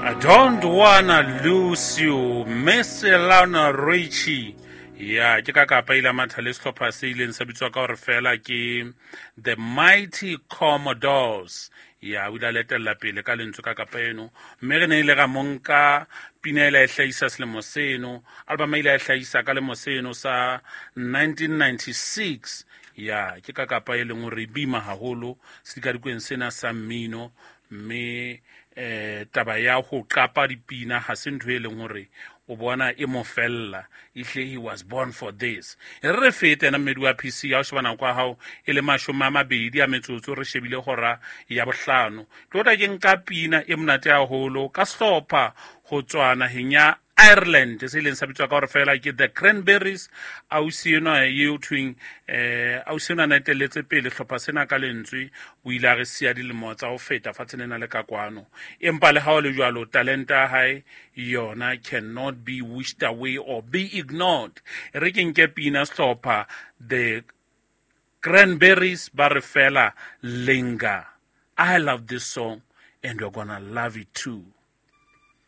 I don't wanna lose you, Miss Lionel Richie. Ya ke ka kapa ile matha le sehlopha se ileng sa bitswa ka hore fela ke The Mighty Commodores. Ya o ile a letella pele ka lentswe ka kapa eno, mme re ne ile ra monka pina ile a e hlahisa selemo seno, album ile a e hlahisa ka lemo seno sa 1996. Ya ke ka kapa e leng hore e bima haholo sedikadikweng sena sa mmino, mme taba ya ho qapa dipina ha se ntho e leng hore o bona e mo fella. Ehle, he was born for this. E re re fete ena mmedi wa PC ya o sheba nako ya hao e le 28 re shebile hora ya 5. Ke tla ke nka pina e monate haholo ka sehlopha ho tswa naheng ya Ireland se ileng sa bitswa ka hore fela ke The Cranberries. Ausi enwa eo thweng, ausi enwa na etelletse pele hlopha sena ka lentswe, o ile a re siya dilemo tsa ho feta fatshe lena le ka kwano. Empa le ha ho le jwalo, talenta ya hae yona cannot be wished away or be ignored. E re ke nke pina sehlopha The Cranberries ba re fela Linger. I love this song and you're gonna love it too.